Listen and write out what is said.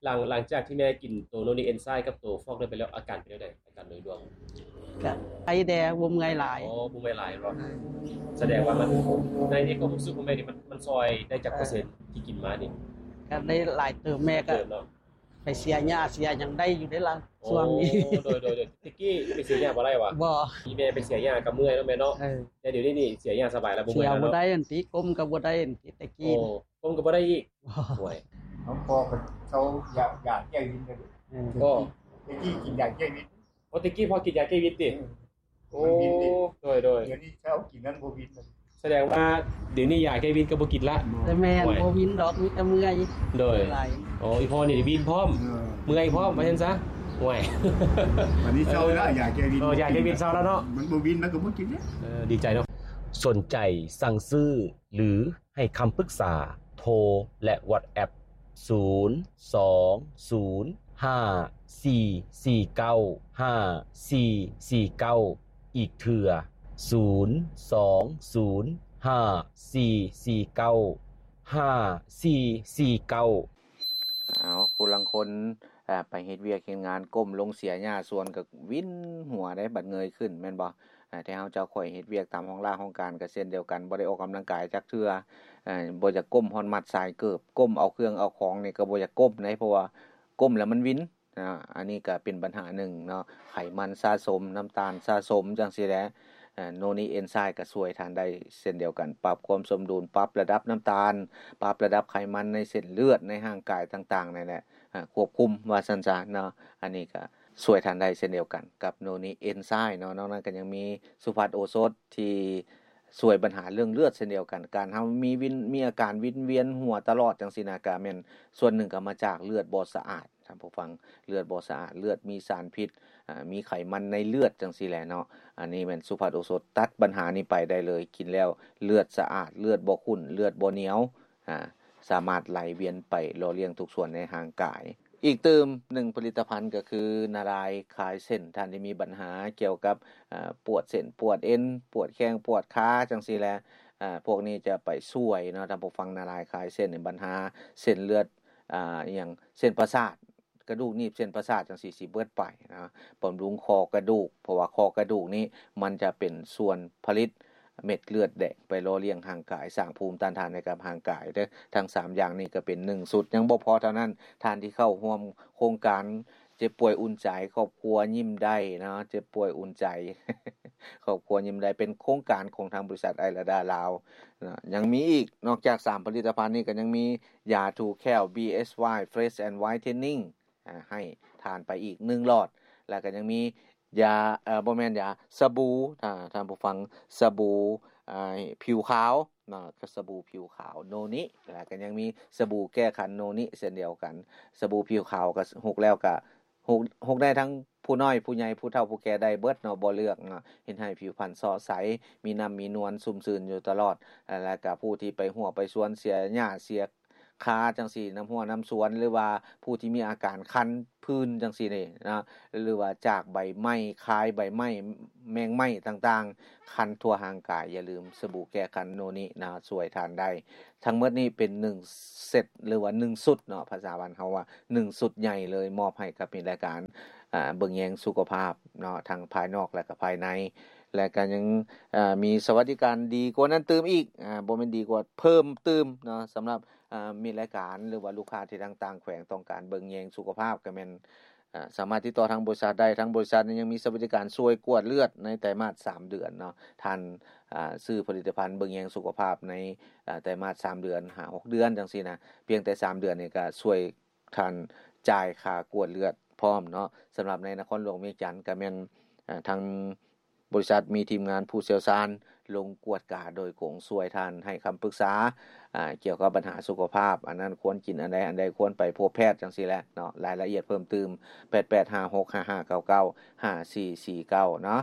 ຫຼັງ ຫຼັງຈາກທີ່ແມ່ກິນໂຕໂນນິເອັນໄຊກັບໂຕຟອກໄດ້ໄປແລ້ວ ອາການເປັນຈັ່ງໃດ? ອາການໂດຍລວມ ກະໄຄແດ່ ບໍ່ເມື່ອຍຫຼາຍ. ອໍ ບໍ່ເມື່ອຍຫຼາຍເນາະ. ສະແດງວ່າມັນ ໃນ ໃນຄວາມຮູ້ສຶກຂອງແມ່ນີ້ ມັນ ມັນຊ່ອຍໄດ້ຈັກເປີເຊັນທີ່ກິນມານີ້? ກະໄດ້ຫຼາຍເຕີບ ແມ່ກະໄປເສຍຫຍ້າເສຍຫຍັງໄດ້ຢູ່ເດ້ລະ ຊ່ວງນີ້. ໂອ້ ໂດຍ ໂດຍ ໂດຍ. ແຕ່ກີ້ໄປເສຍຫຍ້າບໍ່ໄດ້ຫວາ? ບໍ່. ມີແມ່ໄປເສຍຫຍ້າກະເມື່ອຍເນາະແມ່ເນາະ. ເອີ ແຕ່ດຽວນີ້ນີ້ເສຍຫຍ້າສະບາຍລະ ບໍ່ເມື່ອຍລະເນາະ. ສຽບໍ່ໄດ້ອັນຕິ ກົ້ມກະບໍ່ໄດ້ອັນຕິ ແຕ່ກີ້. ໂອ້ ກົ້ມກະບໍ່ໄດ້ອີກ. ໂອ້ຍ ເຮົາພໍກະເຊົາຢາ ຢາແກ້ວິນ. ເອີ ໂອ້ ແຕ່ກີ້ກິນຢາແກ້ວິນ. ໂອ້ ແຕ່ກີ້ພໍກິນຢາແກ້ວິນຕິ? ເອີ ໂອ້ ໂດຍ ໂດຍ. ດຽວນີ້ເຊົາກິນນັ້ນບໍ່ວິນ. ສະແດງວ່າດຽວນີ້ຢາແກ້ວິນກະບໍ່ກິນລະ. ແຕ່ແມ່ນ ໂອ້ຍ ບໍ່ວິນດອກ ມີແຕ່ເມື່ອຍ. ໂດຍ. ໂອ້ ອີພໍ່ນີ້ວິນພ້ອມ ເອີ ເມື່ອຍພ້ອມ ວ່າຊັ້ນຊະ. ໂອ້ຍ ບາດນີ້ເຊົາລະ ຢາແກ້ວິນ. ເອີ ຢາແກ້ວິນເຊົາລະເນາະ. ມັນບໍ່ວິນ ມັນກະບໍ່ກິນເດ້. ເອີ ດີໃຈເນາະ. ສົນໃຈສັ່ງຊື້ ຫຼື ໃຫ້ຄຳປຶກສາ ໂທ ແລະ ວັອດແອັບ ສູນ ສອງ ສູນ ຫ້າ ສີ່ ສີ່ ເກົ້າ ຫ້າ ສີ່ ສີ່ ເກົ້າ ອີກເທື່ອ ສູນ ສອງ ສູນ ຫ້າ ສີ່ ສີ່ ເກົ້າ ຫ້າ ສີ່ ສີ່ ເກົ້າ. ເອົາ ຜູ້ລາງຄົນ ອາ ໄປເຮັດວຽກເຮັດງານ ກົ້ມລົງເສຍຫຍ້າສວນກະວິນຫົວເດ້ ບັດເງີຍຂຶ້ນແມ່ນບໍ່? ອາ ແຕ່ເຮົາເຈົ້າຂ້ອຍເຮັດວຽກຕາມຫ້ອງລາຫ້ອງການກະເຊັ່ນດຽວກັນ ບໍ່ໄດ້ອອກກຳລັງກາຍຈັກເທື່ອ. ອາ ບໍ່ຢາກກົ້ມຮອດມັດສາຍເກີບ ກົ້ມເອົາເຄື່ອງເອົາຂອງນີ້ກະບໍ່ຢາກກົ້ມເດ້ ເພາະວ່າກົ້ມແລ້ວມັນວິນ. ອາ ອັນນີ້ກະເປັນບັນຫາໜຶ່ງເນາະ ໄຂມັນສະສົມ ນ້ຳຕານສະສົມ ຈັ່ງຊີ້ແຫຼະ. ອາ ໂນນິເອັນໄຊກະຊ່ວຍທ່ານໄດ້ເຊັ່ນດຽວກັນ ປັບຄວາມສົມດຸນ ປັບລະດັບນ້ຳຕານ ປັບລະດັບໄຂມັນໃນເສັ້ນເລືອດ ໃນຮ່າງກາຍຕ່າງໆ ນັ້ນແຫຼະ. ອາ ຄວບຄຸມວ່າຊັ້ນຊະເນາະ. ອັນນີ້ກະຊ່ວຍທ່ານໄດ້ເຊັ່ນດຽວກັນກັບໂນນິເອັນໄຊເນາະ. ນອກນັ້ນກະຍັງມີສຸພັດໂອສົດທີ່ຊ່ວຍບັນຫາເລື່ອງເລືອດເຊັ່ນດຽວກັນ. ການເຮົາມີວິນ ມີອາການວິນວຽນຫົວຕະຫຼອດຈັ່ງຊີ້ນະ ກະແມ່ນສ່ວນໜຶ່ງກະມາຈາກເລືອດບໍ່ສະອາດ ທ່ານຜູ້ຟັງ. ເລືອດບໍ່ສະອາດ ເລືອດມີສານພິດ ອາ ມີໄຂມັນໃນເລືອດຈັ່ງຊີ້ແຫຼະເນາະ. ອັນນີ້ແມ່ນສຸພັດໂອສົດຕັດບັນຫານີ້ໄປໄດ້ເລີຍ. ກິນແລ້ວເລືອດສະອາດ ເລືອດບໍ່ຂຸ້ນ ເລືອດບໍ່ໜຽວ ອາ ສາມາດໄຫຼວຽນໄປຫຼໍ່ລ້ຽງທຸກສ່ວນໃນຮ່າງກາຍ. ອີກຕື່ມໜຶ່ງຜະລິດຕະພັນກະຄືນາລາຍຄາຍເສັ້ນ. ທ່ານທີ່ມີບັນຫາກ່ຽວກັບ ອາ ປວດເສັ້ນປວດເອັນ ປວດແຂ້ງປວດຂາຈັ່ງຊີ້ແຫຼະ ອາ ພວກນີ້ຈະໄປຊ່ວຍເນາະ ທ່ານຜູ້ຟັງ. ນາລາຍຄາຍເສັ້ນນີ້ ບັນຫາເສັ້ນເລືອດ ອາ ອີ່ຫຍັງ ເສັ້ນປະສາດ ກະດູກໜີບເສັ້ນປະສາດຈັ່ງຊີ້ຊິເບິດໄປນະ. ບຳລຸງຂໍ້ກະດູກ ເພາະວ່າຂໍ້ກະດູກນີ້ມັນຈະເປັນສ່ວນຜະລິດເມັດເລືອດແດງໄປຫຼໍ່ລ້ຽງຮ່າງກາຍ ສ້າງພູມຕ້ານທານໃຫ້ກັບຮ່າງກາຍເດີ. ທັງສາມຢ່າງນີ້ກະເປັນໜຶ່ງຊຸດ ຍັງບໍ່ພໍເທົ່ານັ້ນ. ທ່ານທີ່ເຂົ້າຮ່ວມໂຄງການເຈັບປ່ວຍອຸ່ນໃຈ ຄອບຄົວຍິ້ມໄດ້ເນາະ ເຈັບປ່ວຍອຸ່ນໃຈ ຄອບຄົວຍິ້ມໄດ້ ເປັນໂຄງການຂອງທາງບໍລິສັດໄອລາດາລາວນະ. ຍັງມີອີກ ນອກຈາກສາມຜະລິດຕະພັນນີ້ກະຍັງມີ ຢາຖູແຂ້ວ ບີເອັສວາຍ Fresh and Whitening ອາ ໃຫ້ທານໄປອີກໜຶ່ງຫຼອດ ແລ້ວກະຍັງມີຢາ ເອີ ບໍ່ແມ່ນຢາ ສະບູ ຖ້າທ່ານຜູ້ຟັງ ສະບູ ອາ ຜິວຂາວເນາະ ກະສະບູຜິວຂາວໂນນິ ແລ້ວກະຍັງມີສະບູແກ້ຄັນໂນນິເຊັ່ນດຽວກັນ. ສະບູຜິວຂາວກະ ຫົກແລ້ວກະ ຫົກ ຫົກໄດ້ທັງຜູ້ນ້ອຍຜູ້ໃຫຍ່ ຜູ້ເຖົ້າຜູ້ແກ່ໄດ້ເບິດເນາະ ບໍ່ເລືອກເນາະ ເຮັດໃຫ້ຜິວພັນເຊາະໃສ ມີນ້ຳມີນວນ ຊຸ່ມຊື່ນຢູ່ຕະຫຼອດ. ແລ້ວກະຜູ້ທີ່ໄປຮົ້ວໄປສວນ ເສຍຫຍ້າເສຍ ຄາຈັ່ງຊີ້ ນ້ຳຮົ້ວນ້ຳສວນ ຫຼືວ່າຜູ້ທີ່ມີອາການຄັນ ຜື່ນຈັ່ງຊີ້ນີ້ນະ ຫຼືວ່າຈາກໃບໄມ້ ຄາຍໃບໄມ້ ແມງໄມ້ຕ່າງໆ ຄັນທົ່ວຮ່າງກາຍ ຢ່າລືມສະບູແກ້ຄັນໂນນິນະ ຊ່ວຍທ່ານໄດ້. ທັງໝົດນີ້ເປັນໜຶ່ງເຊັດ ຫຼືວ່າໜຶ່ງຊຸດເນາະ ພາສາບ້ານເຮົາວ່າໜຶ່ງຊຸດໃຫຍ່ເລີຍ ມອບໃຫ້ກັບມີລາຍການ ອາ ເບິ່ງແຍງສຸຂະພາບເນາະ ທັງພາຍນອກ ແລະກະພາຍໃນ ແລະກະຍັງ ອາ ມີສະຫວັດດີການດີກວ່ານັ້ນຕື່ມອີກ ອາ ບໍ່ແມ່ນດີກວ່າ ເພີ່ມຕື່ມເນາະ ສຳລັບ ອາ ມີລາຍການ ຫຼືວ່າລູກຄ້າທີ່ທາງຕ່າງແຂວງຕ້ອງການເບິ່ງແຍງສຸຂະພາບ ກະແມ່ນ ອາ ສາມາດຕິດຕໍ່ທາງບໍລິສັດໄດ້. ທາງບໍລິສັດນີ້ຍັງມີສະຫວັດດີການຊ່ວຍກວດເລືອດໃນໄຕມາດສາມເດືອນເນາະ. ທ່ານ ອາ ຊື້ຜະລິດຕະພັນເບິ່ງແຍງສຸຂະພາບໃນ ອາ ໄຕມາດສາມເດືອນ ຫາຫົກເດືອນຈັ່ງຊີ້ນະ ພຽງແຕ່ສາມເດືອນນີ້ກະຊ່ວຍທ່ານຈ່າຍຄ່າກວດເລືອດພ້ອມເນາະ. ສຳລັບໃນນະຄອນຫຼວງວຽງຈັນກະແມ່ນ ອາ ທາງ ບໍລິສັດມີທີມງານຜູ້ຊ່ຽວຊານລົງກວດກາໂດຍກົງ ຊ່ວຍທ່ານໃຫ້ຄຳປຶກສາ ອາ ກ່ຽວກັບບັນຫາສຸຂະພາບ ອັນນັ້ນຄວນກິນອັນໃດ ອັນໃດຄວນໄປພົບແພດຈັ່ງຊີ້ແຫຼະເນາະ. ລາຍລະອຽດເພີ່ມຕື່ມ ແປດແປດຫ້າຫົກຫ້າຫ້າເກົ້າເກົ້າ ຫ້າສີ່ສີ່ເກົ້າເນາະ.